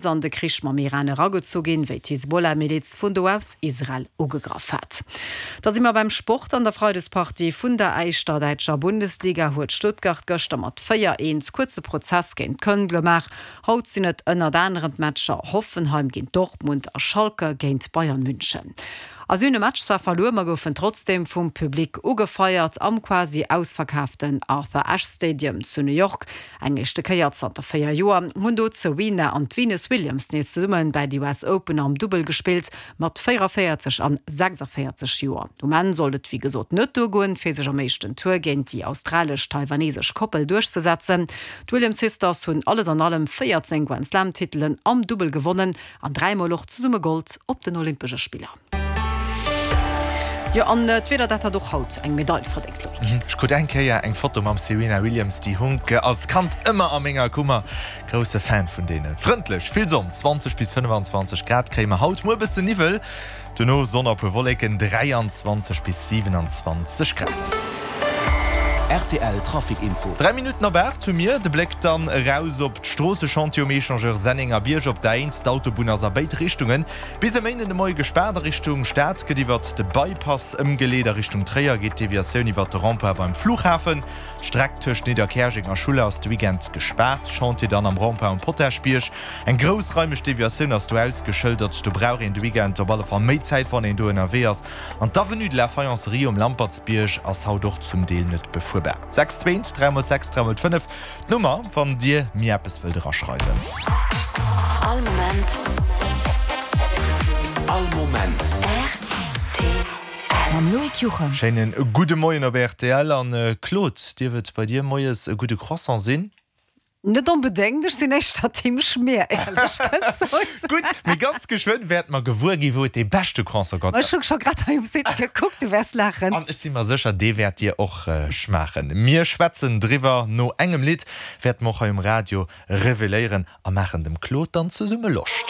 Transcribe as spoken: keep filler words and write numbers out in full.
an de Krich mam Iran eragezu ginn, wéi d'Hisbollah-Miliz vun do aus Israel ugegraff hat. Da si mer beim Sport. An der Freidespartie vun der éischter däitscher Bundesliga huet Stuttgart gëschter mat véier, eent kuerze Prozess géint Köln gemaach. Haut sinn et ënnert anerem d'Matcher Hoffenheim géint Dortmund a Schalke géint Bayern München. A si hunn de Match zwar verluer, ma goufen trotzdeem vum Public ugefeiert am quasi ausverkaaften Arthur Ashe Stadium zu New York. Eng éischte Kéier zanter véier Joer hunn do d'Serena an d'Venus Williams nees zesumme bäi de U S Open am Dubbel gespillt, mat véierundavéierzeg an sechsundvéierzeg Joer. Um Enn sollt et wéi gesot net duergoen, fir sech am éischten Tour géint déi australesch-taiwanesesch Koppel duerchzesetzen. D'Williams Sisters hunn alles an allem véierzéng Grand Slam Titelen am Dubbel gewonnen an dräimol och zesumme Gold op den Olympesche Spiller. Jo, an d'Wieder, dat hat och haut eng Medail verdéngt, Loïc. Ech krut eng Kéier eng Foto mam Serena Williams, déi hunk als Kand ëmmer a menger Kummer. Grousse Fan vun deenen. Frëndlech, vill Sonn, zwanzeg bis fënnefanzwanzeg Grad kréie mer haut, muer bësse Niwwel, dono Sonn a puer Wolleken, dräianzwanzeg bis siwenanzwanzeg Grad. Rtl Trafic Info. Dräi Minutten op aacht hu mir. De Bléck dann eraus op d'Stroossechantier um Echangeur Sennengerbierg op der Eent. D'Autobunn ass a béid Richtungen bis e Méinden de Moie gespaart. A Richtung Stad gëtt iwwert de Bypass ëmgeleet, a Richtung Tréier geet d'Deviatioun iwwert de Rond-point beim Flughafen. D'Streck tëscht Nidderkäerjeng a Schuller ass de Weekend gespaart. Chantier dann am Rond-point um Potaschbierg. Eng groussraimeg Deviatioun ass do ausgeschëldert. Do brauch een de Weekend op alle Fall méi Zäit, wann een do ënnerwee ass. An d'Avenue de la Faïencerie um Lampertsbierg ass haut och zum Deel net befuerbar. Sechs zwéint, dräi mol sechs, dräi mol fënnef, d'Nummer, wann Dir mir eppes wëllt eraschreiwen. All Moment. All Moment. Rtl. Mam Loïc Juchem. Schéinen gudde Moien op rtl. An Claude, dierf et bei dir moies e gudde Croissant sinn? Net onbedéngt, ech sinn éischter Team Schmier, éierlech gesot. Gutt, mee ganz geschwënn wäerte mer gewuer ginn, wou et dee beschte Croissant gëtt. Ech hu scho grad hei um Site gekuckt, du wäers laachen. An ech si mer sécher, dee wäert dir och schmaachen. Mir schwätzen driwwer no engem Lidd, wäerte mer och hei um Radio reveléieren a maachen dem Claude dann zesumme Loscht.